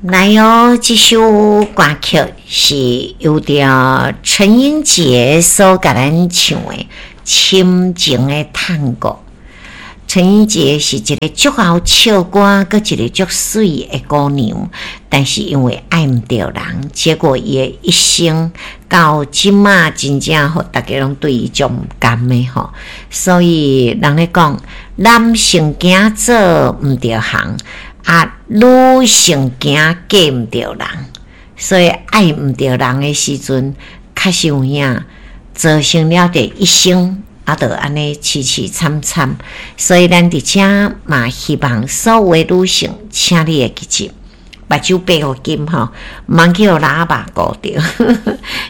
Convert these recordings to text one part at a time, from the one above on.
來哦，這首歌曲是由著陳英傑所共咱唱的《深情的探戈》。陳英傑是一个足𠢕唱歌，閣一個足媠的姑娘，但是因為愛毋著人，結果伊的一生到這馬真正予大家攏對伊足毋甘的吼。所以人咧講，男性驚做毋著行，啊，女性驚嫁毋著人，所以愛毋著人的時陣，確實有影造成了這一生。啊，就按呢淒淒慘慘，所以咱佇遮嘛希望所有的女性，請你會記住，目睭閉予緊吼，毋通去予喇叭顧著，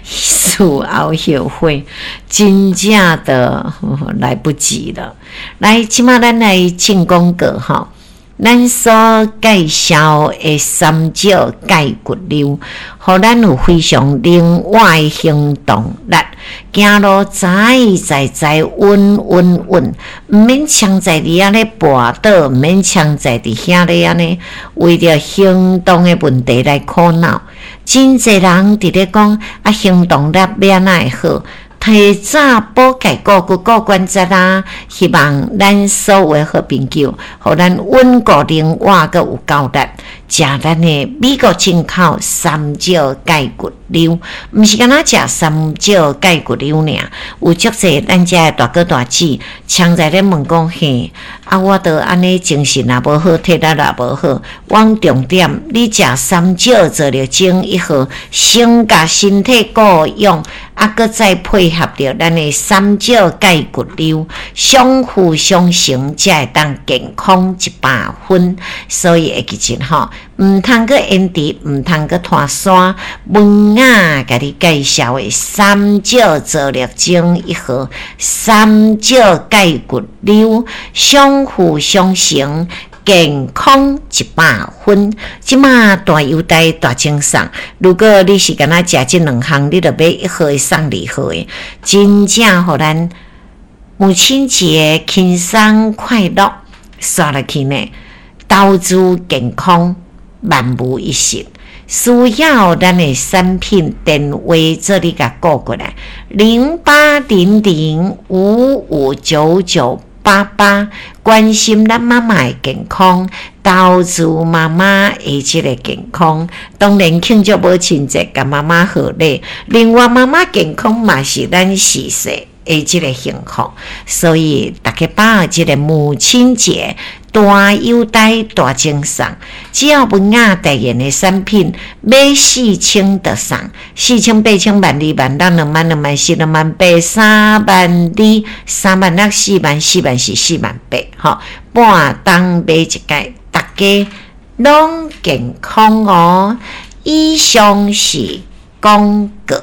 事後後悔，真正的來不及了。來，這馬咱來進廣告吼。咱所介紹的三石鈣骨溜，予咱有非常靈活的行動力，行路載載載穩穩穩，毋免常在佇遐咧跋倒，毋免常在佇遐咧按呢，為著行動的問題來苦惱。真濟人佇咧講啊，行動力欲按怎會好？提早補鈣固骨顧關節啊！希望咱所有的好朋友，予咱穩固靈活閣有夠力，食咱的美國進口三石鈣骨溜，毋是干焦食三石鈣骨溜爾，有足濟咱遮的大哥大姊，常在咧問講嘿，啊，我都按呢精神也無好，體力也無好，阮重點，你食三石做著精一號，先共身體顧養。啊，閣再配合著咱的三石鈣骨溜，相輔相成，才會當健康100分。所以會記得吼，毋通閣延遲，毋通閣拖山。文雅共你介紹的三石做力精一號，三石鈣骨溜，相輔相成。健康100分，這馬大優待大贈送。如果你是干焦食這兩項，你就買一號的送二號的，真正予咱母親節輕鬆快樂，煞落去呢，投資健康萬無一失。需要咱的產品電話做你共顧過來，0800559988，關心咱媽媽的健康，投資媽媽的這个健康。當然慶祝母親節，共媽媽賀禮。另外，媽媽健康嘛是咱時勢的這个幸福。所以，大家把握這个母親節大優待大贈送，只要文雅代言的產品，買4000就送4000、8000、12000、16000、2萬、2萬4、2萬8、3萬2、3萬6、4萬、4萬4、4萬8，吼，半冬買一擺，大家攏健康哦。以上是廣告。